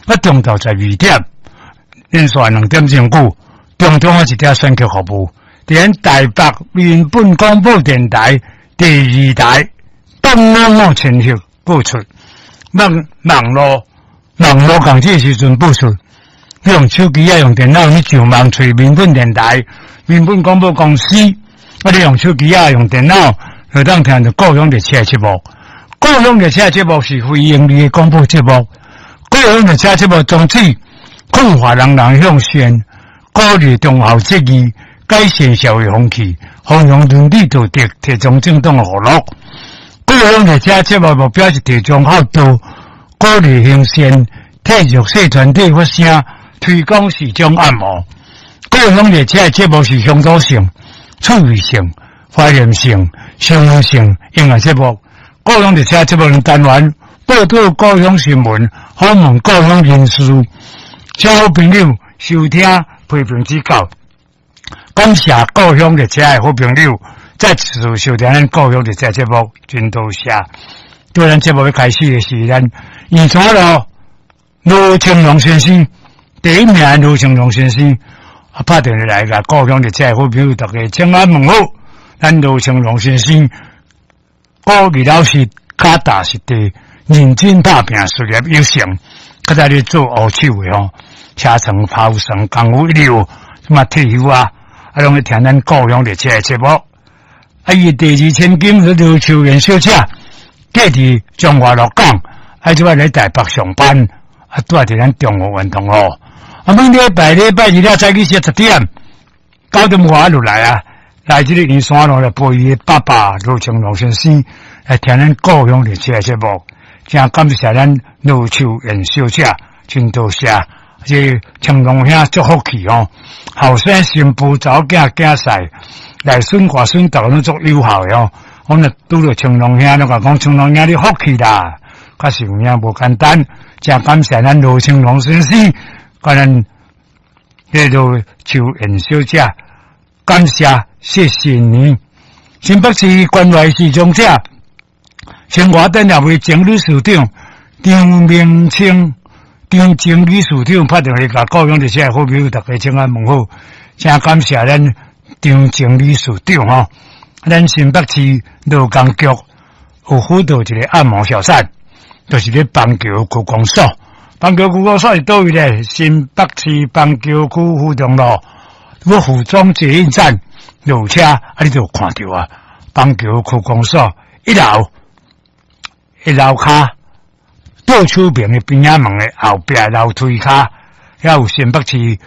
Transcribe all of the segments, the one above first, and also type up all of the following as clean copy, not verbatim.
啊中晝12點，連續2點鐘久，中中一點選曲服務，佇咱台北民本廣播電臺第二台東五五千赫播出，網絡網址時陣播出，你用手機啊，用電腦，你上網揣民本電臺、民本廣播公司，啊，你用手機啊，用電腦，就當聽著故鄉列車節目。故鄉列車節目是非營利的廣播節目。故鄉列車節目宗旨，勸化人人向善，鼓勵忠孝節義，改善社會風氣，弘揚倫理道德，提倡正當的娛樂。故鄉列車節目目標是提倡孝道，鼓勵行善，替弱勢團體發聲，推廣視障按摩。故鄉列車節目是鄉土性、趣味性、懷念性、生活性音樂節目。故鄉列車節目單元報導故鄉新聞，訪問故鄉人士，請好朋友收聽批評指教。感謝故鄉列車的好朋友再次收聽咱故鄉列車節目，真多謝。對咱節目欲開始的是咱圓山路盧清龍先生，第一名盧清龍先生，啊，拍電話來共故鄉列車的好朋友，大家請安問好。咱盧清龍先生，鼓勵老師腳踏實地，認真打拼，事業有成，較早咧做烏手的吼，車床、拋床功夫一流，什麼退休啊，啊，攏咧聽咱故鄉列車的節目。啊，伊第二千金是盧秋蓮小姐，嫁佇彰化鹿港，啊，這擺咧台北上班，啊，住佇咱中和園同學。啊，每禮拜禮拜二了早起10點，9點外就來啊，來這个圓山路來陪伊的爸爸盧清龍先生來聽咱故鄉列車的節目，真感謝咱盧秋蓮小姐，真多謝。這清龍兄足福氣哦，後生新婦查某囝囝婿來孫外孫逐个攏足友好的哦。我若拄著清龍兄，攏共講清龍兄你福氣啦，確實有影無簡單。真感謝咱盧清龍先生，佮咱這盧秋蓮小姐，感謝謝謝你。新北市關懷視障者，清華電協會前理事長張明清。張經理事長拍電話共故鄉列車好朋友，大家請安問好，真感謝咱張經理事長吼。咱新北市勞工局有輔導一个按摩小站，就是咧板橋區公所。板橋區公所是佗位咧？新北市板橋區府中路，我府中捷運站落車，啊，你就有看著啊。板橋區公所一樓一樓跤。左手邊的邊仔門的後壁樓梯跤，遐有新北市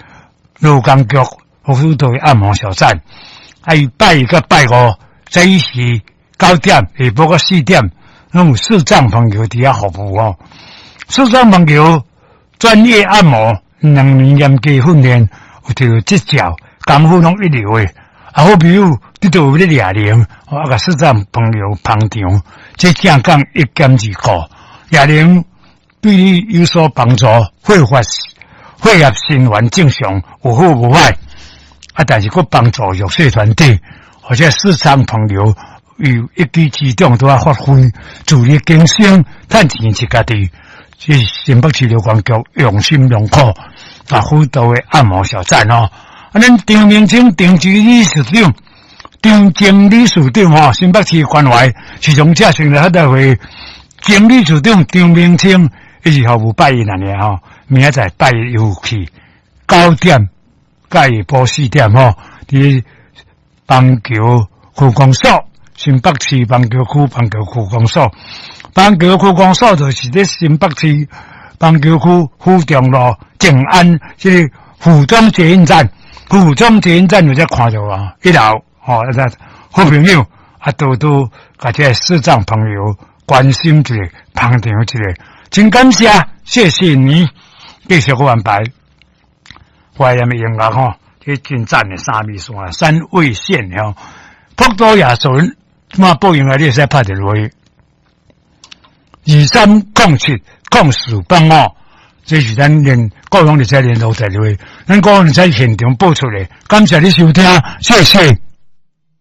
勞工局輔導的按摩小站。啊，伊拜一佮拜五，早時9點，下晡到4點，攏有視障朋友佇遐服務哦。視障朋友專業按摩，2年嚴格訓練，有摕著執照，功夫攏一流的。啊，好朋友，你都有咧掠鈴，啊，共視障朋友捧場，這正講一兼二顧，掠鈴對你有所幫助，血發血液循環正常，有好無壞。啊，但是閣幫助弱勢團體，或者視障朋友有一舉之長都愛發揮，自力更生，趁錢是家己。這是新北市勞工局用心良苦啊，輔導的按摩小站哦。啊，咱張明清張經理事長，張經理事長吼，新北市關懷視障者成立協會經理事長張明清。伊是服務拜一爾吼，明仔載拜一又去9點，佮下晡4點吼，佇板橋區公所，新北市板橋區板橋區公所，板橋區公所就是佇新北市板橋區府中路靜安這个府中捷運站，府中捷運站有才看著啊，一樓吼，啊，好朋友啊，多多共這个視障朋友關心一下，捧場一下。真感謝，謝謝你繼續閣安排。懷念的音樂吼，這真讚的三味線、三味線吼。博多夜巡，嘛報應來你會使拍電話，23070485，這是咱連故鄉列車聯絡電話，咱故鄉列車現場播出的，感謝你收聽，謝謝。